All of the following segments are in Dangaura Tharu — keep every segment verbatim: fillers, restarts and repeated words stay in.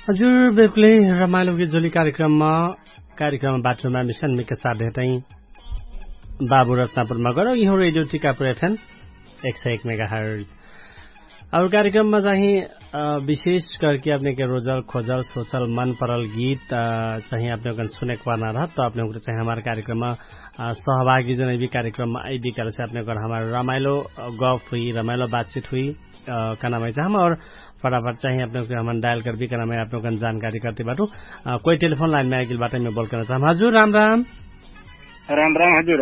हजुर, बिल्कुलै रमाइलो गीत जोली कार्यक्रममा, कार्यक्रममा बाटोमा मिसन मिका साथ भेटै बाबु रत्नापुरमा गरौ। यिहो रेडियो टिकापुर एफएम एक सय एक मेगा हर्ज। और कार्यक्रममा चाहिँ विशेष करके अपने के रोजल खोजल सोचल मन परल गीत चाहिँ अपने कन सुनेक पर्ना रहत, त अपने उग्र चाहिँ हमार कार्यक्रममा सहभागी जनै भी कार्यक्रममा आइबी करसे अपने कन हमार रमाइलो गफ हुई, रमाइलो बातचित हुई। कनामै चाहम और फटाफट चाहिँ अपने उग्र हमन डायल करबी कनामै अपने कन जानकारी करती बाटु। कोई टेलिफोन लाइनमै आइगेल बाटै मै बोल करना चाहम। हजुर राम राम। राम राम हजुर।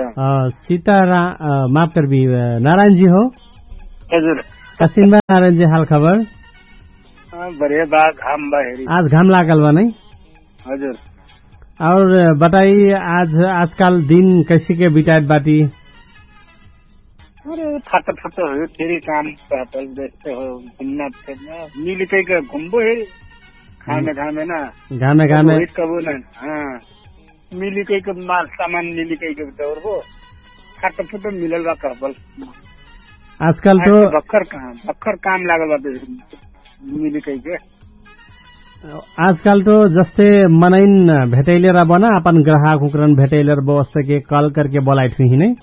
सीता राम माफ करबी, नारायण जी हो? हजुर। कसिन बा नारायण जी हाल खबर? बढ़िया बा। घाम बा हेरी। आज घाम लागल बा नै? हजुर। और बताई आज आजकाल दिन कैसे के बिताइत बाटी? अरे फट फट हो फेरी काम। पातल देखते हो घुमना फिरना मिल कई के घुमबो हेरी। घामे घामे ना। घामे घामे। कबो ना। हाँ। मिली कई के माल सामान मिली कई के दौरबो। खाट फुट मिलल बा कहबल। आजकल तो भक्खर काम भक्खर काम लागल बा। मिली कई के आजकल तो जस्ते मनैन भेटैले रहबो ना अपन ग्राहक उकरन भेटैले रहबो वस्ते के कल करके बोलाइट हुई ही नै।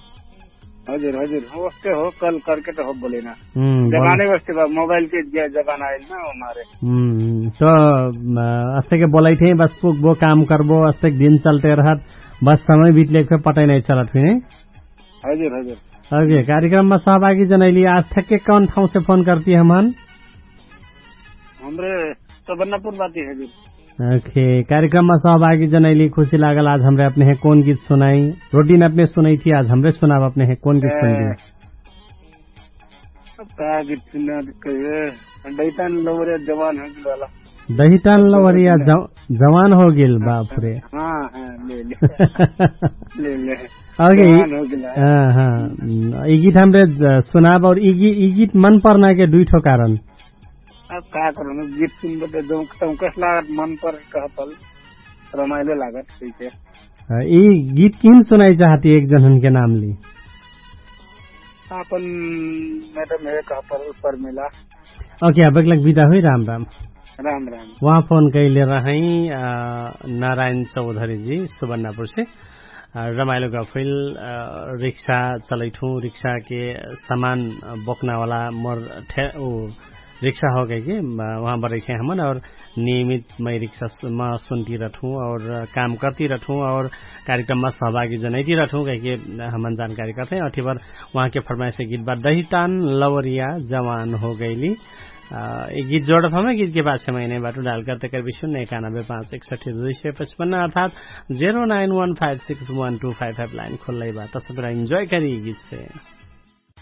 हजुर हजुर। वस्ते हो कल करके त हो बोले ना। जमाने वस्ते बा मोबाइल के जमाना आइल ना हमारे। त अस्ते के बोलाइट है बस पुगबो काम करबो अस्ते दिन चलते रहत। बस समय बितले के पटै नै चलत हुई नै। हजुर हजुर। ओके कार्यक्रममा सहभागी जनैली आज ठ्याक्कै कौन ठाउँसे फोन करती हमन? हमरे सबन्नापुर बाती हजुर। ओके कार्यक्रममा सहभागी जनैली खुशी लागल आज हमरे अपने है कौन गीत सुनाई? रोटिन अपने सुनाई थी आज हमरे सुनाब अपने है कौन गीत सुनाई? का गीत सुना कहिए। दैतान लौरे जवान हो गइल वाला। दहितान लवरिया जवान हो गेल बाप रे। हाँ हाँ। ले ले। ले ले। ओके। जवान हो गेल। हाँ हाँ। ई गीत हमरे सुनाब और ई गीत मन पर्ना के दुई ठो कारण। अब का करनु गीत सुनबे त जौं कस लागत मन पर कहपल। रमाइलो लागत ठीक है। ई गीत किन सुनाई चाहती एक जनन के नाम ली? आपन मैडम है कहपल परमिला। ओके अब एकलक बिदा हुई राम राम। राम राम। उहाँ फोन कैले रहै नारायण चौधरी जी सुबन्नापुर से। रमाइलो गफैल रिक्सा चलैठु रिक्सा के सामान बोक्ना वाला मोर ठे उ रिक्सा हो गए कि वहाँ बरैखे हमन और नियमित मै रिक्सा मा सुनती रहठु और काम करती रहठु और कार्यक्रम मा सहभागी जनैती रहठु कहिके हमन जानकारी करते हैं। अठीबर उहाँ के फरमाइश गीत बा दहितान लवरिया जवान हो गइली। एक गीत जोडत हमै गीत के पाछे महिने बाटु डाल करते कर विश्व ने एकानबे पाँच एकसठी दुई सय पचपन्न अर्थात zero nine one five six one two five five line खोल्लै बा तसबरा इन्जोय करी गीत से।